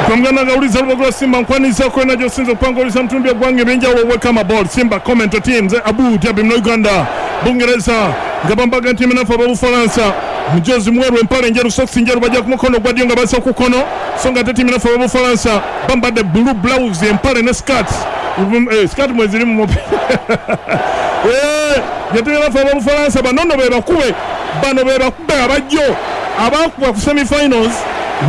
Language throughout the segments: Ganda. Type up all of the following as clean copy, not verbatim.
Twamuganda nga awuliza Lubogo Simba, nkwanizaako yonna gy'osinza okuba nga owuliza mu bitundu by'eggwanga eby'enjawulo. Welcome aboard Simba Commento Team. Nze Abu Dhabi muno Uganda, Bungereza nga bambaga nti eminafu ab'Obufalansa mujozi mweru, empale njeru, sokisi njeru, bajja ku mukono ogwa ddyo nga bazza ku kkono, so nga ate ttiimu enaffe ab'Obufalansa bambadde blue blouse, empale ne skirt. Skirt mweziri mu mupiira. Ye ttiimu enaffe ab'Obufalansa bano nno be bakube, bano be bakube abajjo abaakubwa ku semi finals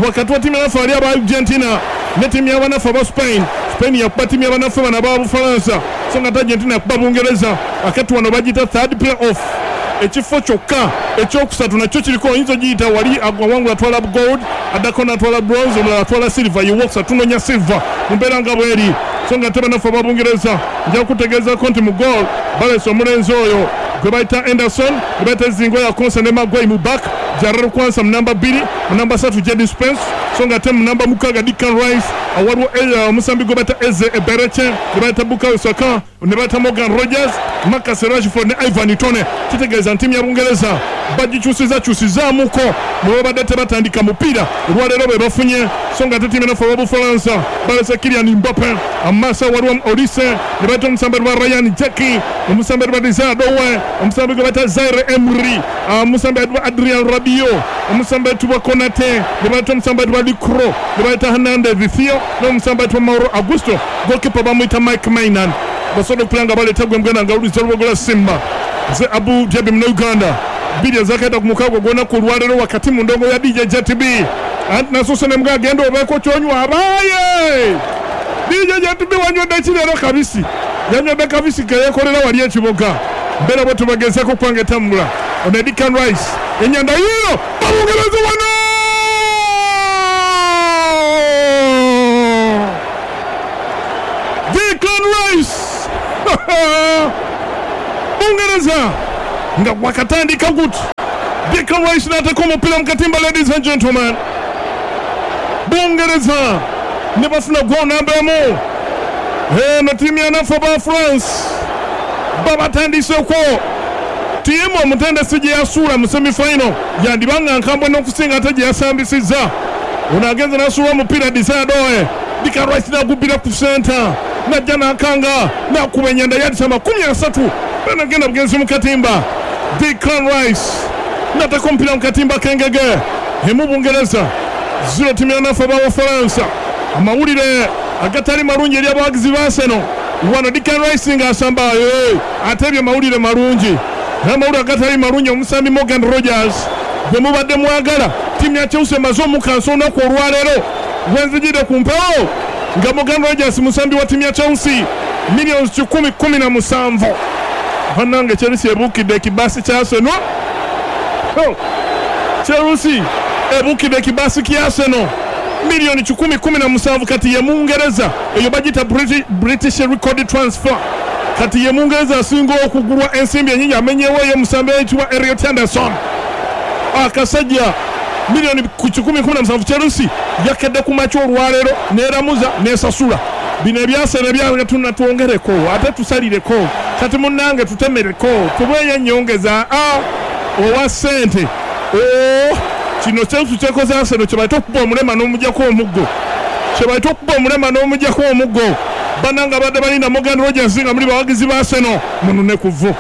wakati wa ttiimu yanaffe ali aba Argentina ne ttiimu y'abanaffe aba Spain. Spain yakuba ttiimu y'abanaffe bano aba Bufalansa, so nga ate Argentina yakuba Bungereza. Akati wano bagiyita third play off, ekifo kyokka ekyokusatu nakyo kiriko, oyinza ogiyita wali awangula atwala gold, addako n'atwala bronze, omulala atwala silver, ye wokusatu. Tunoonya silver mu mbeera nga bweri. So nga ate bannaffe aba Bungereza, nja kutegeezaako nti mu goal balese omulenzi oyo gwe bayita Henderson, gwe bayita Ezingo ya Konsa ne Maguire mu back, Jarell Quansah mu namba 2, mu namba 3 Jadon Spence, so nga ate mu namba 6 Declan Rice. Waliwo omusambi gwe bayita Eze Ebereche, gwe bayita Bukayo Saka, ne bayita Morgan Rogers, Marcus Rashford ne Ivan Toney. Kitegeeza nti ttiimu ya Bungereza bagikyusiza kyusizaamuko mwe babadde tebatandika mupiira, olwaleero be bafunye. So nga ate ttiimu enaffe ab'Obufalansa balese Kylian Mbappe amaaso, waliwo Olise, ne bayita omusambi lwa Ryan Cherki, omusambi lwa Desire Doue, omusambi gwe bayita Zaire Emery, omusambi ayitibwa Adrian Rabiot, omusambi ayitibwa Konate, ne bayita omusambi ayitibwa Licro, ne bayita Hernandez Theo n'omusambi ayitibwa Mauro Augusto. Goalkeeper bamuyita Mike Maignan. Basobodde okupira nga baleeta gwe muganda nga awuliza Lubogola Simba. Nze Abu Dhabi muno Uganda, 2 06 ogw'olunaku olwaleero, wakati mu ndongo ya DJ JTB. Anti nasoose ne mga agenda obeeko kyonywa. Abaaye DJ JTB, wanywedde ki leero? Kabisi yanywedde, kabisi keyekolera wali ekiboga. Mbeera bwe tubagezaako okubanga etambula. Ono Declan Rice, enyanda yiino, babungereza wano. Declan Rice, Bungereza nga wakatandika guti, Declan Rice n'ateeka omupiira mu katimba. Ladies and gentlemen, Bungereza ne bafuna goal namba 1. Eno ttiimu yanaffe ba France babatandiseeko. Ttiimu omutendesi gye yasuula mu semifinal yandiba nga nkambwe n'okusinga ate gye yasambisizza. Ono agenze n'asuula omupiira Desire Doue, Declan Rice n'agubbira ku center, najja n'akanga n'akuba enyanda yadisa 30, banagenda bugenzi mu katimba. Declan Rice n'ateeka omupiira mu katimba k'engege. 1 Bungereza, 0 ttiimu yanaffe abawafalansa. Amawulire agatali malungi eri abawagizi ba Arsenal wano, Declan Rice ng'asamba ate ebyo mawulire malungi, naye amawulire agatali malungi, omusambi Morgan Rogers gwe mubadde mwagala, ttiimu ya Chelsea emaze omukansa olunaku olwaleero wenzijidde ku mpewo nga Morgan Rogers musambi wa ttiimu ya Chelsea, millions 117. Bannange, Chelsea ebuukidde ekibaasi kya Arsenal. Oh, Chelsea ebuukidde ekibaasi kya Arsenal, miliyoni 117. Kati ye Mungereza, eyo bagiyita British record transfer. Kati ye Mungereza asinga okugulwa ensimbi enyingi, amenyewo eyo omusambi ayitibwa Elliot Anderson. Akasajja miliyoni ku 117. Chelsea yakedde ku makya olwaleero neeramuza nesasula bino ebyasene ebyagatuna. Twongereko ate tusalireko, kati munnange tutemereko, tubeeyo ennyongeza a owa ssente. O kino Chelsea kyekoze Arsenal kyebayita okuba omulema n'omujjako omuggo, kyebayita okuba omulema n'omujjako omuggo. Bannange, abadde balinda Morgan Rogers nga muli bawagizi ba Arsenal, munune ku vvu.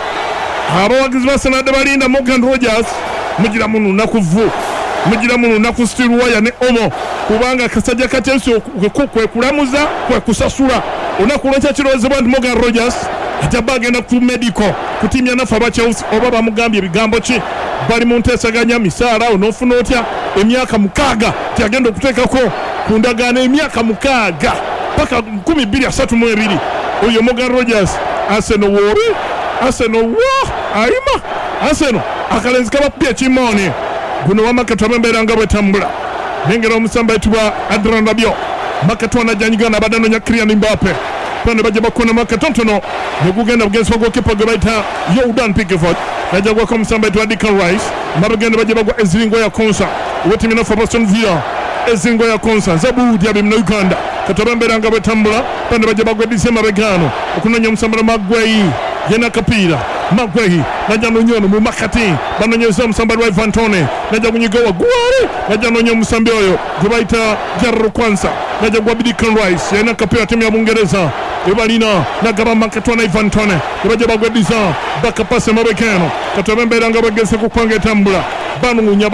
Abawagizi ba Arsenal abadde balinda Morgan Rogers, mugira mununa ku vvu, mugira mununa ku steel wire ne omo, kubanga akasajja ka Chelsea kwe kulamuza kwe kusasula. Olunaku lwenkya kirowoozebwa nti Morgan Rogers ajja bba agenda ku medical ku ttiimu yanaffe aba Chelsea, oba bamugambye ebigambo ki, bali mu nteesaganya misaala, onoofuna otya emyaka 6 tyagenda okuteekako ku ndagaano emyaka 6 paka 2032. Oyo Morgan Rogers, Arsenal woori, Arsenal wo ayima, Arsenal akalenzi kabakubye ekimooni. Guno wamakatu ab'embeera nga bwetambula, nengera omusambi ayitibwa Adrian Rabiot makatu anajjanyiga nabadde anoonya Kylian Mbappe, ne bajja bakonamu akatonotono ne gugenda bugenzi wa goalkeeper gwe bayita Jordan Pickford, najja gwako omusambi ayitibwa Declan Rice. Mabegenda bajja bagwa eziringo ya Konsa wetimi nafe Aston Villa, ezingo ya Konsa Zabudi abi muna Uganda. Katoba embeera nga bwetambula, bano bajja bagwa edise mabegano okunoonya omusambi Magwei, yena akapiira. Magwehi najja nonyono mu makati banonyeza omusambi wa Ivan Toney najja kunyiga waggulu najja nonya omusambi oyo gwe bayita Jarro Kwanza najja gwa Declan Rice yalina akapiira ttiimu ya Bungereza ebalina nagaba makati na Ivan Toney ebajja bagweddiza bakapase mabega eno katobe embeera nga bageze kupanga etambula banoonya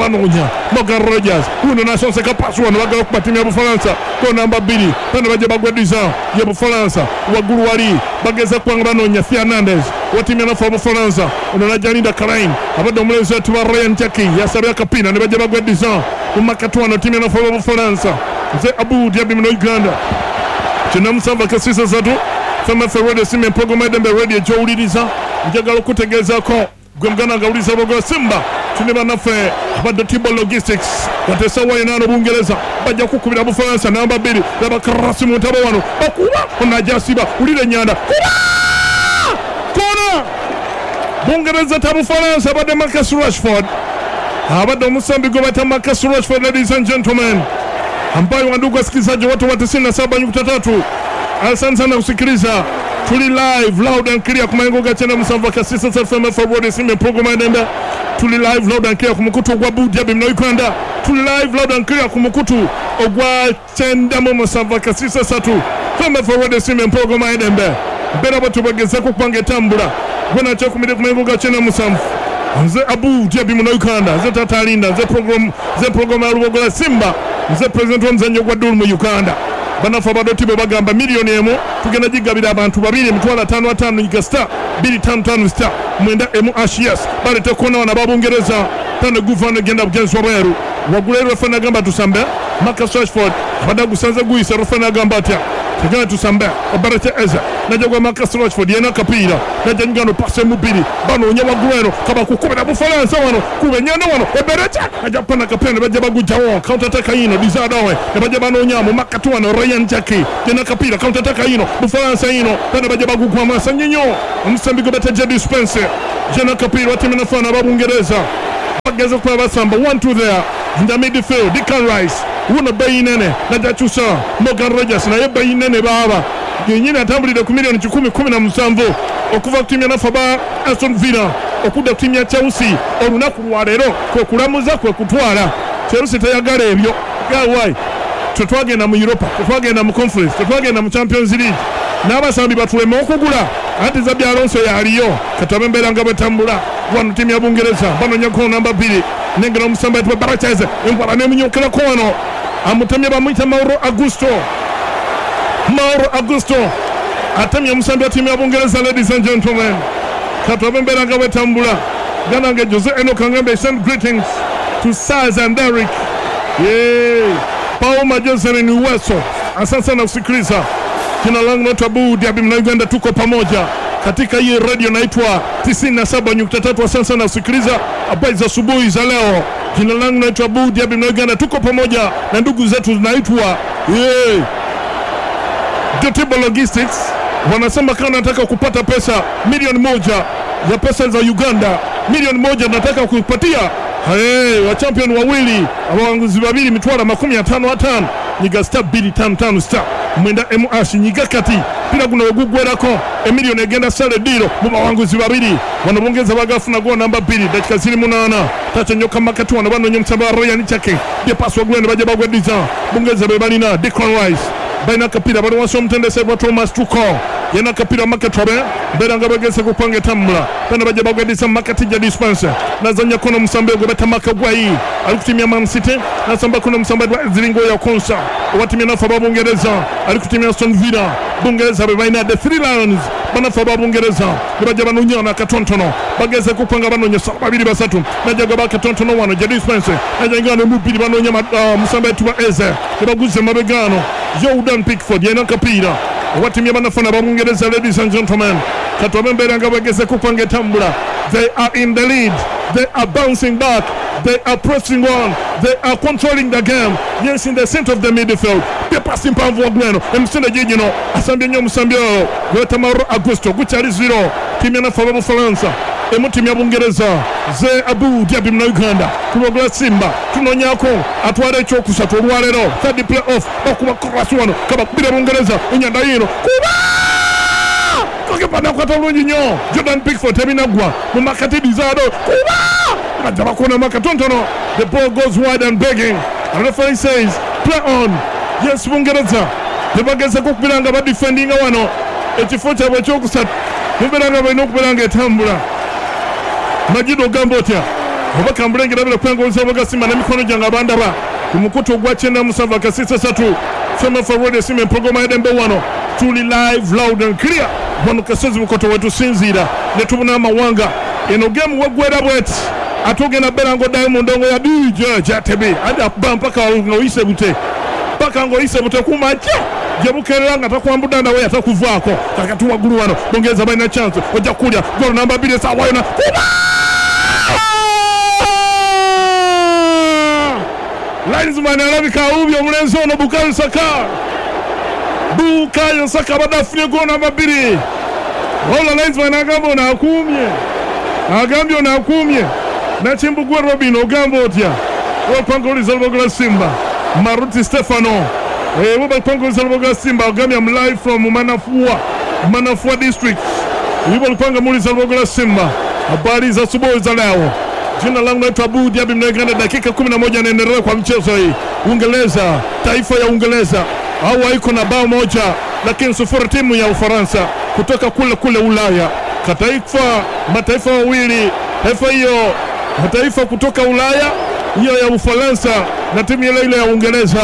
Morgan Rogers uno nasonseka pasi wano bagala okuba ttiimu ya Bufalansa ko namba 2 bano bajja bagweddiza ya Bufalansa waggulu wali bageza kubanga banoonya Fernandes wa ttiimu ya nafe Bufalansa ono najja Linda Kalain abadde omulenzi wetu wa Ryan Jackie yasabye akapiira ne bajja bagweddiza mu makati wano ttiimu ya nafe Bufalansa. Nze Abu Diaby muno Uganda 97.3 FMF Radio Simba Empologoma Edembe Radio gy'owuliriza. Njagala okutegeezaako gwe muganda nga awuliriza Lubogola Simba tuli bannaffe abadde Tibo Logistics kati essaawa yonna Bungereza bajja kukubira Bufalansa namba 2 laba Karasi mu ntabo wano bakuba ono ajasiba wulira ennyanda kuba kona Bungereza ta Bufalansa abadde Marcus Rashford abadde omusambi gwe bayita Marcus Rashford. Ladies and gentlemen, ambayo wandugu wasikilizaji wote wa 97.3, asante sana kusikiliza. Tuli live loud and clear ku mayengo ga 97.6 FM Radio Simba Empologoma Edembe. Tuli live loud and clear ku mukutu ogwa Bujabi muno Uganda. Tuli live loud and clear ku mukutu ogwa 97.6 FM Radio Simba Empologoma Edembe. Mbeera bwe tubagezeko kupanga etambula gwe nakyekumire ku mayengo ga 97. Nze Abu Diaby muno Uganda, nze Tata Linda, nze program ya Lubogola Simba, nze president w'omuzannyo gwa Dul mu Uganda. Bannaffe abadoti bwe bagamba miliyoni 1 tugenda gigabira abantu babiri 555 nyiga star 255 star 9 emu ashias balete kona wana babungereza tano guvano genda bugenzi wabweru waggulu eri refa n'agamba tusambe. Marcus Rashford abadde agusanze guyisa refa n'agamba atya tugenda tusambe Obarete Eze najja gwa Marcus Rashford yena akapiira najja nyigano pase mu bbiri banoonya waggulu eno kabakukubira Bufalansa wano kuba ennyanda wano Eberete ajja pana akapiira ne bajja bagujjawo counter attack yino Dizadowe ne bajja banoonya mu makati wano Ryan Jackie yena akapiira counter attack yino Bufalansa yino bano bajja bagugwa maaso nnyo omusambi gwe bayita Jadon Spencer yena akapiira wa ttiimu nafaana aba Bungereza bageza okuba basamba 1-2 there in the midfield. Declan Rice wuno bbeeyi nene najja kyusa Morgan Rogers naye bbeeyi nene baaba yennyini atambulidde ku miliyoni 117 okuva ku ttiimu ya nafe aba Aston Villa okudda ku ttiimu ya Chelsea olunaku lwa leero kwe kulamuza kwe kutwala. Chelsea teyagala ebyo gawai. Tetwagenda mu Europa, tetwagenda mu Conference, tetwagenda mu Champions League n'abasambi batuleme okugula anti Xabi Alonso yaliyo katabe embeera nga bwetambula wano ttiimu ya Bungereza banoonya ko namba 2 nengera omusambi ayitibwa Baracheze enkwala n'emunyookerako wano amutemye bamuyita Mauro Augusto. Mauro Augusto atemye omusambi wa ttiimu ya Bungereza. Ladies and gentlemen, katabe embeera nga bwetambula. Ganange Jose Enoch Angambe send greetings to Saz and Derek. Yeah. Paul Johnson ni Uweso, asante sana kusikiliza. Jina langu naitwa Abu Diaby mna Uganda, tuko pamoja katika hii radio naitwa 97.3. Asante sana kusikiliza habari za asubuhi za leo. Jina langu naitwa Abu Diaby mna Uganda, tuko pamoja na ndugu zetu zinaitwa Dotibo Logistics. Wanasema kama nataka kupata pesa milioni 1 ya pesa za Uganda, milioni 1 nataka kuipatia hey, wa champion wawili abawanguzi babiri mitwala 55 nyiga star 255 star 9 emu ashi nyiga kati pira guno ogugwerako emiliyoni egenda sale diro mu bawanguzi babiri wano bongeza bagafuna go namba 2 dakika ziri 8 tacho nyoka makati wano banonye msamba Ryan Chake de pass wagwenda baje bagwediza bongeza be balina Declan Rice balina kapira bali wansi omutendesi wa Thomas Tuchel yena kapira makati wabe mbera nga bageze kupanga etambula bano bajja bagwedisa makati Jadon Spencer nazanya kono musambe gwe batamaka gwayi ali kutimia Man City nasamba kono musambe gwa Ziringo ya Konsa watimia nafa babungereza ali kutimia Aston Villa Bungereza be balina the three lions banafa babungereza bajja banonyana katontono bageze kupanga banonya babiri basatu najja gwa katontono wano Jadon Spencer najja ngano mubiri banonya musambe tuba Eze baguze mabegano Jordan Pickford yena kapira watimia banafana babungereza. Ladies and gentlemen, katwabe mbere nga bageze kupanga etambula. They are in the lead, they are bouncing back, they are pressing on, they are controlling the game. Yes, in the center of the midfield pasi mpanvu wa Gweno emisinde jijino asambye nnyo omusambi oyo gweta Mauro Augusto gukyali 0 timu ya nafe Bufalansa emu timu ya Bungereza. Ze Abu Diaby muna Uganda Lubogola Simba tunonyako atwala ekyokusatu olwaleero third play off bakuba cross wano kabakubira Bungereza enyanda yino kuba Goalkeeper nakwata bulungi nnyo Jordan Pickford, tebinaggwa mu makati. Desire Doue kuba bajja bakuonamu akatonotono. The ball goes wide and begging, and referee says play on. Yes, Bungereza tebagezeko okubeera nga badefendinga wano ekifo kyabwe ekyokusatu, mubeera nga balina okubeera nga etambula. Majido, ogamba otya? Oba kambulengera kwengoliza bagasimba n'emikono gyange abandaba ku mukutu ogwa 97.3 FMF Radio Simba, empologoma yadembe. Wano tuli live, loud and clear. Wano kasozi Bukoto wetusinziira ne tubuna amawanga. Eno game weggwera bweti, ate ogenda beera ng'oddayo mu ndongo ya DJ Jatebi adi akuba mpaka ng'oyise bute, paka ng'oyise bute kumakya gye bukeerera nga takwambudda ndawe atakuvaako. Kakati waggulu wano Bungereza balina chance, ojja kulya golo namba 2 esaawa yona. Kuba linesman alabika awubye omulenzi ono Bukayo Saka. Bukayo Saka abadde afunye golo namba 2, wabula linesman agamba ono akuumye, agambye ono akuumye. Nakimbugwe Robin, ogamba otya? Wapangoliza Lubogola Simba, Maruti Stefano webapangoliza Lubogola Simba, ogambye am live from Manafua, Manafua district. Yubalupanga muliza Lubogola Simba, habari za asubuhi za leo. Jina langu naitwa Abu Diaby Mnaiganda. Dakika 11 anaendelea kwa mchezo hii. Uingereza, taifa ya Uingereza hawa iko na bao moja lakini sufuri timu ya Ufaransa kutoka kule kule Ulaya. Kataifa mataifa mawili, taifa hiyo mataifa kutoka Ulaya hiyo ya Ufaransa na timu ile ile ya Uingereza.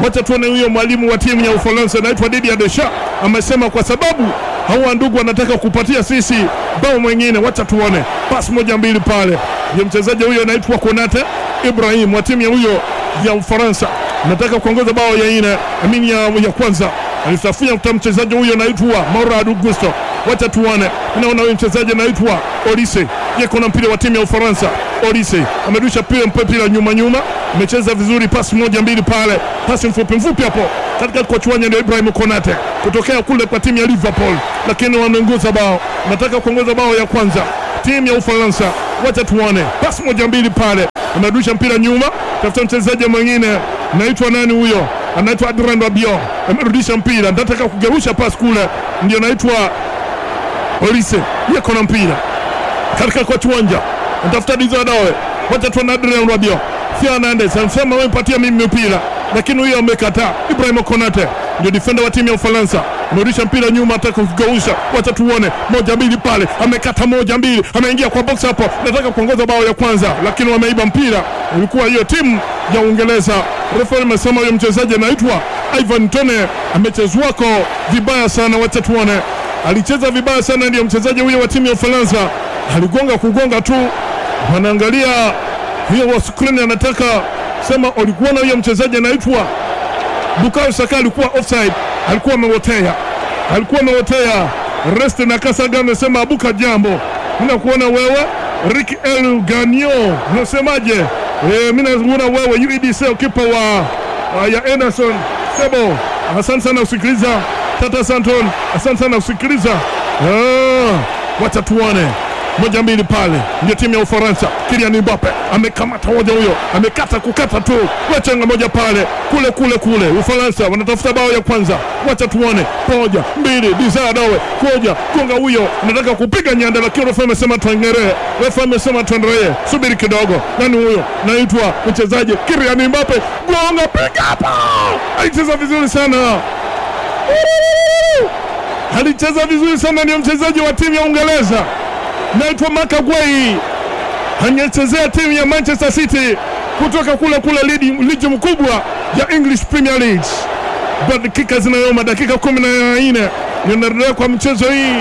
Wacha tuone huyo mwalimu wa timu ya Ufaransa anaitwa Didier Deschamps amesema kwa sababu hawa ndugu wanataka kupatia sisi bao mwingine, wacha tuone. Pasi moja mbili pale, ndio mchezaji huyo anaitwa Konate Ibrahim wa timu ya huyo ya Ufaransa nataka kuongoza bao ya ine, amini ya kwanza alisafia kuta mchezaji huyo anaitwa Mauro Augusto. Wacha tuone, naona huyo mchezaji anaitwa Olise yeko na mpira wa timu ya Ufaransa. Olise amerusha mpira nyuma nyuma, amecheza vizuri, pasi moja mbili pale, pasi mfupi mfupi hapo katika kwa chuanya, ndio Ibrahim Konate kutokea kule kwa timu ya Liverpool, lakini wanaongoza bao, nataka kuongoza bao ya kwanza timu ya Ufaransa. Wacha tuone, pasi moja mbili pale, amerusha mpira nyuma, tafuta mchezaji mwingine naitwa nani huyo, anaitwa Adrien Rabiot, amerudisha mpira, nataka kugerusha pasi kule, ndio naitwa Olise yeko na mpira katika kwa kiwanja, anatafuta Desire Doue. Wacha tuone Adrien Rabiot, Fernandes anasema wewe patia mimi mpira, lakini huyo amekataa. Ibrahim Konate ndio defender wa timu ya Ufaransa, amerudisha mpira nyuma, ataka kugausha. Wacha tuone, moja mbili pale, amekata moja mbili, ameingia kwa box hapo, nataka kuongoza bao ya kwanza, lakini wameiba mpira. Ilikuwa hiyo timu ya Uingereza. Refa amesema huyo mchezaji anaitwa Ivan Toney amechezwako vibaya sana. Wacha tuone, alicheza vibaya sana, ndio mchezaji huyo wa timu ya Ufaransa, aligonga kugonga tu, wanaangalia hiyo wa screen, anataka sema ulikuwa na huyo mchezaji anaitwa Bukayo Saka alikuwa offside, alikuwa amewotea, alikuwa amewotea. Rest na Kasaga amesema abuka jambo, mimi nakuona wewe Rick El Ganio, unasemaje? Mimi nakuona wewe UEDC kipa wa ya Anderson Sebo. Asante sana kusikiliza Tata Santon, asante sana kusikiliza. Wacha tuone moja mbili pale, ndio timu ya Ufaransa. Kylian Mbappe amekamata moja huyo, amekata kukata tu, wachenga moja pale kule kule kule. Ufaransa wanatafuta bao ya kwanza, wacha tuone. Moja mbili, Desire Doue koja gonga huyo, anataka kupiga nyanda, lakini refa amesema tuendelee, refa amesema tuendelee, subiri kidogo. Nani huyo? Naitwa mchezaji Kylian Mbappe, gonga, piga hapa! Alicheza vizuri sana, alicheza vizuri sana, ndio mchezaji wa timu ya Uingereza naitwa Makagwei, anachezea timu ya Manchester City kutoka kule kule ligi mkubwa ya English Premier League. Dakika zinayoma, dakika 14 inaendelea kwa mchezo hii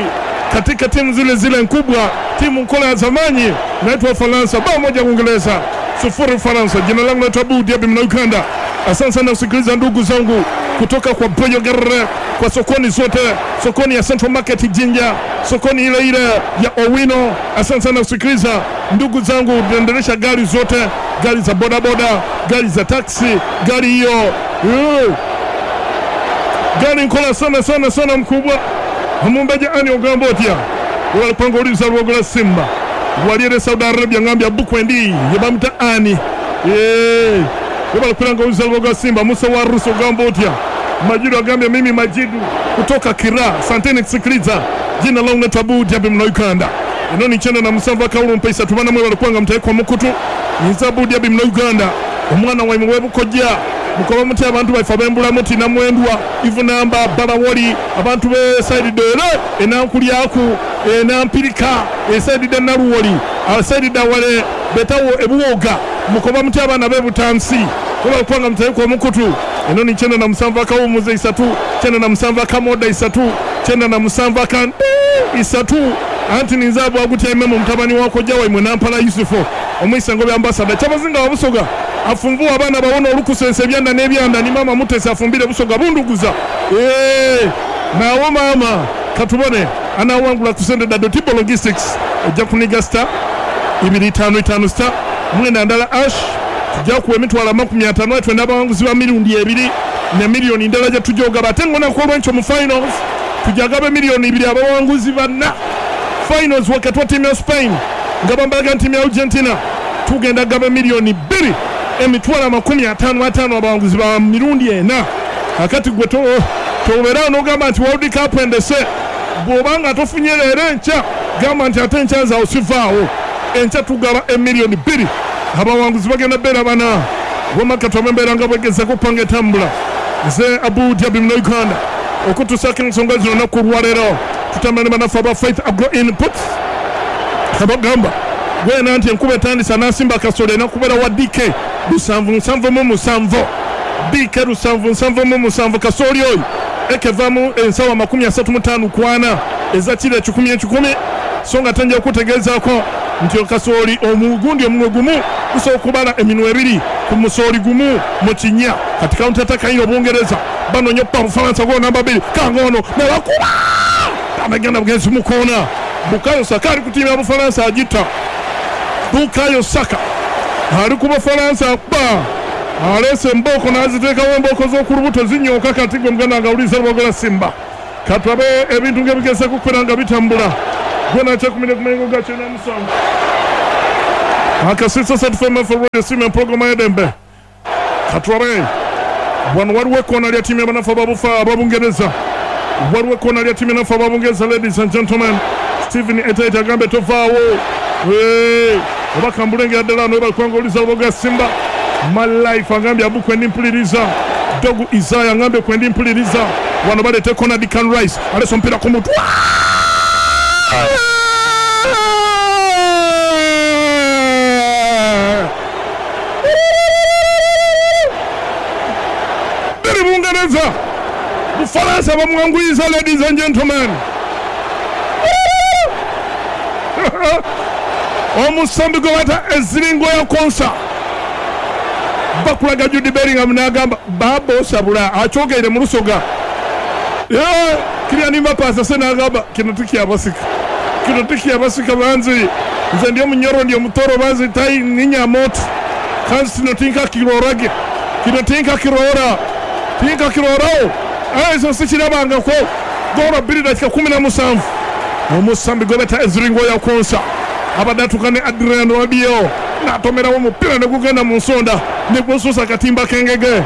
katika timu zile zile kubwa, timu nkola ya zamani naitwa Ufaransa, bao moja Uingereza, 0 Ufaransa. Jina langu naitwa Abu Diaby mna Uganda. Asante sana kusikiliza ndugu zangu kutoka kwa Boyogerere, kwa sokoni zote, sokoni ya Central Market Jinja, sokoni ile ile ya Owino. Asante sana kusikiliza ndugu zangu, tunaendelesha gari zote, gari za bodaboda, gari za taksi, gari hiyo gari nkola sana sana sana mkubwa amumbeja ani ogambotia walipanga uliza Lugola Simba waliere Saudi Arabia ngambia bukwendi yebamta ani yebalikulanga uliza Lugola Simba Musa wa Ruso gambotia Majidu agambye mimi Majidu kutoka Kira. Asanteni kusikiliza. Jina langu naitwa Abu Dhabi mna Uganda. Eno ni 97 akawulu mpaisa tubana mwe balikwanga mutaekwa mukutu. Ninza Abu Dhabi mna Uganda. Omwana waimwe webukojja. Mukoba muti abantu baife abembula muti namwendwa ivunamba balawoli abantu be side dere enankulyaku enampirika eside da naruwoli aside da wale betawo ebuwoga mukoba muti abaana bebutansi kuba kwanga mutaekwa mukutu. Eno ni 97 akawumuze isatu 97 akamoda isatu 97 akan isatu anti ninzabu agutya mu mutabani wako jawa imwe nampala Yusufu omwisango bya ambassador kyabazinga wabusoga afunvua abaana bawona olukusense ebyanda n'ebyanda ni mama Mutesi afumbire busoga bunduguza nawo mama katubone anawangula kusende da Dotibo Logistics ojja kuniga star 255 star mwenda ndala ash tujja kuwa emitwalo 50 twenda abawanguzi ba mirundi ebiri ne miliyoni ndala gye tujoga batengo na kolwencho mu finals tujagabe miliyoni 2 abawanguzi banna finals wakati wa timu ya Spain ngabambalaga timu ya Argentina tugenda gaba miliyoni 2 emitwalo 55 abawanguzi ba mirundi ena akati gwe tobeera n'ogamba nti World Cup endese bw'obanga tofunye leero enkya gamba nti ate enkya nze awo sivaawo enkya tugaba emiliyoni 2 abawanguzi bagenda beera bana wamakati wamembeera nga bwegezako kupanga etambula. Nze Abu Dhabi mna Uganda okutusaako ensonga zino olunaku olwaleero tutambula ne bannaffe aba Faith Agro Input abagamba gwena nti enkuba etandisa n'asimba akasolo enakubera wa DK 777 DK 777 kasooli oyo ekevamu ensawo 35 kwana eza kiro 1,100 so nga tenja okutegeezaako nti okasooli omugundi omunwe gumu gusobola okubala eminwe ebiri ku musooli gumu mu kinnya. Kati counter attack ayina Obungereza banoonya okuba Bufalansa golo namba 2 kangono nebakuba abagenda bugenzi mu koona. Bukayo Saka ali ku ttiimu ya Bufalansa agitta. Bukayo Saka ali ku Bufalansa akuba aleese embooko n'aziteekawo embooko z'oku lubuto zinyooka kati gwe muganda nga awuliriza lwogola Simba. Katulabe ebintu ng'ebigezeko okubeera nga bitambula gwe nakyekumire ku mayengo ga 97 akasisa satu FM Radio Simba empologoma y'eddembe. Katulabe wano waliwo ekkoona lya ttiimu y'abanafu ababungereza waliwo ekkoona lya ttiimu y'abanafu ababungereza. Ladies and gentlemen, Stephen Etaita agambe tovaawo oba kambulengera ddala wano webalikwanga owuliza lwogola Simba. My life agambye abu kwendi mpuliriza. Dogu Isaiah agambye kwendi mpuliriza. Wano baleeta ekkoona Declan Rice aleese omupiira ku mutwe biri Bungereza Bufalansa bamwanguyiza. Ladies and gentlemen, omusambi gwe bayita eziringo ya konsa bakulaga Jude Bellingham n'agamba baba osabula akyogeire mu lusoga Kylian Mbappe asase n'agamba kino tikyabasika kino tikyabasika banzi nze ndi omunyoro ndi omutoro banzi tai ninyamoto kanzi kino tinkakirorage kino tinkakirora tinkakirorawo ekyo sikirabangako. Golo 2 dakika 17 omusambi gwe bayita eziringo ya konsa abadde atuuka ne Adrian Rabiot n'atomerawo omupiira ne gugenda mu nsonda ne gususa akatimba k'engege.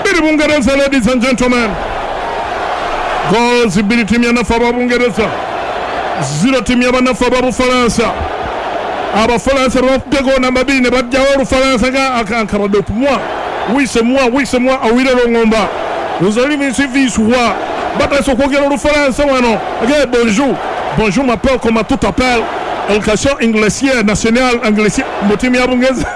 Biri Bungereza. Ladies and gentlemen, goals 2 ttiimu y'abanafu aba Bungereza 0 ttiimu y'abanafu aba Bufalansa. Abafalansa bakubye goolo namba 2 ne baggyawo Olufalansa nga akankabadde okumwa wise mwa wise mwa awire longomba uzalivisivisuwa batandise okwogera Olufalansa wano age bonjour bonjour m'appelle comment tout appelle Education Anglesier National Anglesier mu ttiimu ya Bungereza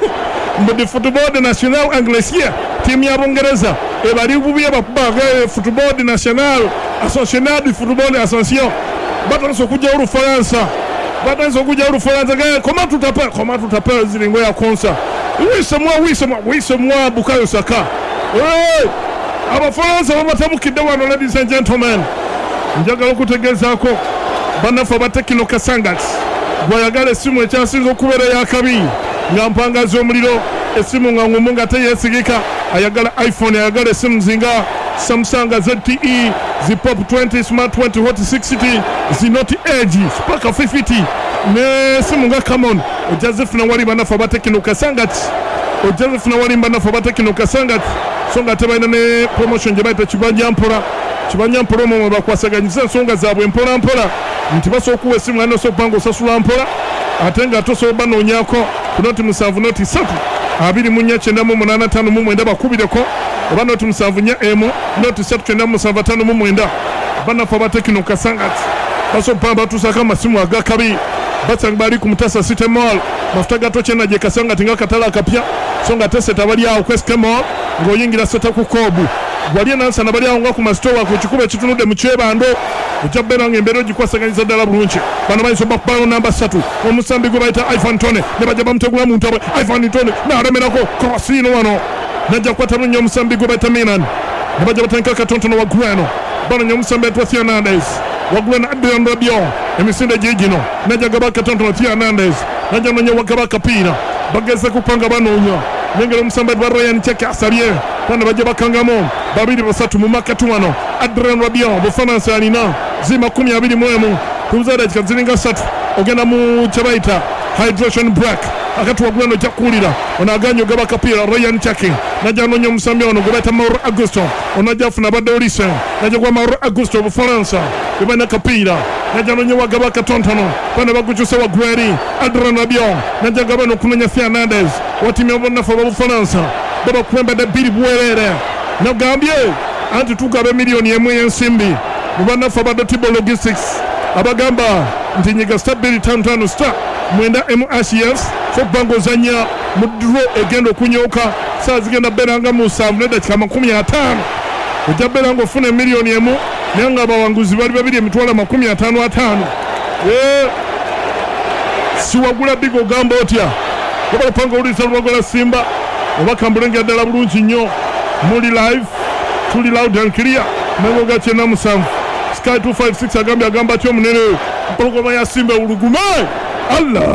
mu the football national Anglesier ttiimu ya Bungereza ebali bubi bakuba football national association du football association batandise okujjawo Olufalansa batandise okujjawo Olufalansa ga comment tout appelle comment tout appelle ziringo ya konsa wise mwa wise mwa wise mwa Bukayo Saka Abafalansa babatabukidde wano. Ladies and gentlemen, njagala okutegeezaako bannaffe aba Tekino Kasangat gwayagala essimu ekyasinza okubeera eyakabi nga mpangazi omuliro essimu nga ngumu nga teyeesigika ayagala iPhone ayagala essimu zinga Samsung ZTE zi Pop 20 Smart 20 Hot 60 zi Note Edge Spark 50 n'essimu nga Camon ojja zifuna wali bannaffe aba Tekino Kasangat ojja zifuna wali bannaffe aba Tekino Kasangat. So nga tebalina ne promotion gye bayita kibanja mpola. Kibanja mpola omwo mwe bakwasaganyiza ensonga zaabwe mpola mpola, nti basobola okuwa essimu nga nosobola okuba nga osasula mpola, ate nga tosobola banoonyako ku 07 03 24 98 59, bakubireko oba 074 1 03 97 59. Bannaffe aba Tecno Kasangati basobola okuba batuusako amasimu agakabi, basanga bali ku Mutasa City Mall, mafuta ga tokyena gye Kasangati nga katale akapya. So nga teseta bali awo ku SK Mall ng'oyingira seta ku Kobu wali enansana, bali awo nga ku masitowa ku kikubo ekitunudde mu Kyebando. Ojja kubeera nga embeera ogikwasaganyiza ddala bulungi. Bano bayinza obakubayo namba 3, omusambi gwe bayita Ivan Tone, ne bajja bamutegula mu ntabwe. Ivan Tone n'alemerako krosino wano, najja kukwata bulungi omusambi gwe bayita Milan, ne bajja batandika katonotono waggulu eno. Banonya omusambi ayitibwa Theo Hernandez waggulu eno. Adrian Rabiot emisinde giigino, najja gaba katonotono. Theo Hernandez najja nonya wagaba akapiira, bageze kupanga banoonya nengera omusambi ayitibwa Ryan Cheke asabye bano, bajja bakangamu babiri basatu mu makati wano. Adrian Rabiot, Bufaransa alina zi 21, tubuza dakika ziringa 3 ogenda mu kyebayita hydration break. Akati waggulu eno ojja kuwulira ono aganye ogaba akapiira. Ryan Chaki najja anoonya omusambi ono gwe bayita Mauro Augusto, ono ajja afuna abadde Olise, najja gwa Mauro Augusto. Obufalansa bwe balina akapiira, najja anoonya wagaba akatonotono, bano bagukyusa waggulu eri Adrian Rabiot, najja gaba nokunoonya Theo Hernandez wa ttiimu y'abannaffe ababufalansa, babakulembedde 2-0. Nagambye anti tugaba 1 million ey'ensimbi mu bannaffe aba Dotibo Logistics, abagamba nti nyiga *255 *9 mhs okuba nga ozanya mu draw egenda okunyooka saa zigenda beera nga 7:50. Ojja beera nga ofuna 1 million, naye nga abawanguzi bali babiri, emitwalo 55,000. Siwagula bigo, ogamba otya? Oba opanga owuliriza Lubagola Simba oba kambulengera ddala bulungi nnyo. Muli live, tuli loud and clear, mengo ga 97 Sky 256 agambye, agamba atya omunene? Mpologoma ya Simba ewulugume Allah.